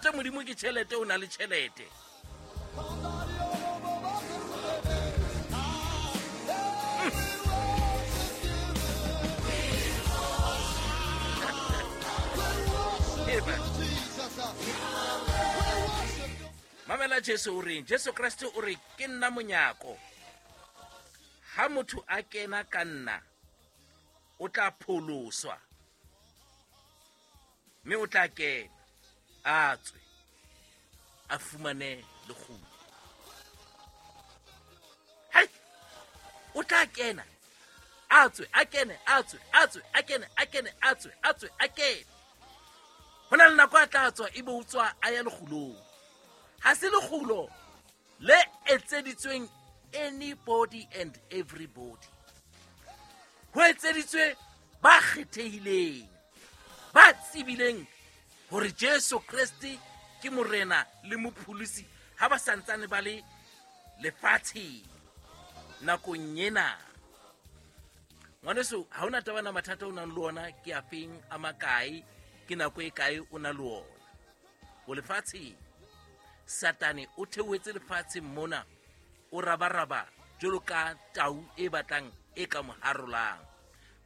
kolote Modimo ke tjhelete, o na le tjhelete. Mamela Jesu o reng? Jesu Kreste o re ke nna monyako. Ha motho a kena ka nna, o tla pholoswa, mme o tla kena, a tswe, a fumane lekgulo. Hai! O tla kena, a tswe, a kene, a tswe, a tswe, a kene, a kene, a tswe, a tswe, a kene. Ho na le nako a tla tswa, ebe o tswa a ya lekgulong. Ha se lekgulo le etseditsweng anybody and everybody. Ho etseditswe ba kgethehileng, ba tsebileng hore Jesu Kreste ke Morena le Mopholosi ha ba santsane ba le lefatsheng nakong ena. Ngwaneso, ha hona taba na mathata o nang le ona ke a feng, a makae, ke nako e kae o na le ona. O lefatsheng. Satane o theohetse lefatsheng mona, o rabaraba jwalo ka tau e batlang e ka mo harolang.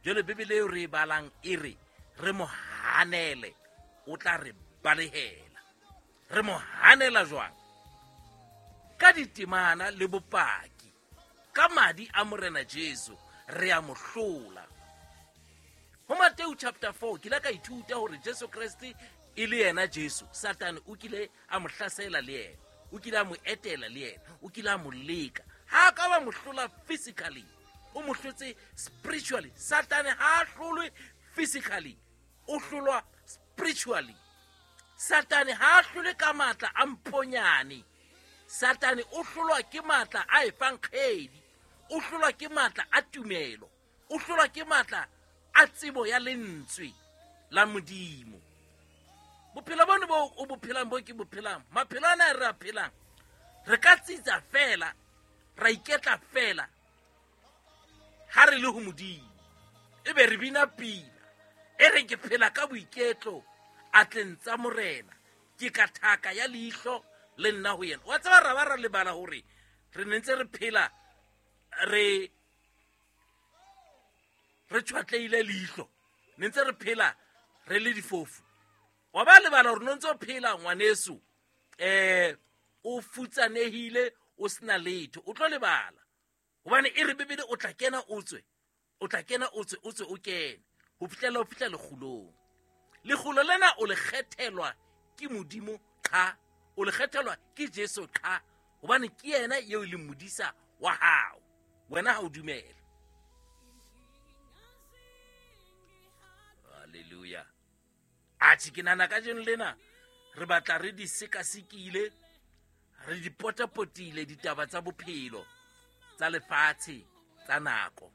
Jwale Bibele eo re e balang e re, re mo hanele, o tla re balehela. Re mo hanela jwang? Ka ditemana le bopaki, ka madi a Morena Jesu, re a mo hlola. Ho Mateu chapter 4, ke ile ka ithuta hore Jesu Kreste e le yena Jesu, Satane o kile a mo hlasela le yena, o kile a mo etela le yena, o kile a mo leka. Ha a ka ba mo hlola physically, o mo hlotse spiritually. Satane ha a hlolwe physically, o hlolwa spiritually. Satane ha a hlolwe ka matla a mponyane. Satane o hlolwa ke matla a efankgedi, o hlolwa ke matla a tumelo, o hlolwa ke matla a tsebo ya lentswe la Modimo. Bophelo bone bo o bo phelang, bo ke bo phelang, maphelo ana re a phelang, re ka tsitsa fela, ra iketla fela ha re le ho Modimo, ebe re bina pina e re ke phela ka boiketlo atleng tsa Morena, ke ka thaka ya leihlo le nna ho yena. Wa tseba ra ba ra lebala hore re ne ntse re phela re re tshwatleile leihlo, ne ntse re phela re le difofu. Wa ba lebala hore no ntse o phela ngwaneso, o futsanehile, o sena letho, o tlo lebala. Hobane e re Bibele o tla kena o tswe, o tla kena o tswe, o tswe o kene, ho fihlela o fihla lekgulong. Lekgulo lena o le kgethelwa ke Modimo qha, o le kgethelwa ke Jesu qha, hobane ke yena eo e leng modisa wa hao. Wena ha o dumela. Hallelujah. Atjhe, ke nahana kajeno lena re batla re di sekasekile, re di potapotile ditaba tsa bophelo, tsa lefatshe, tsa nako.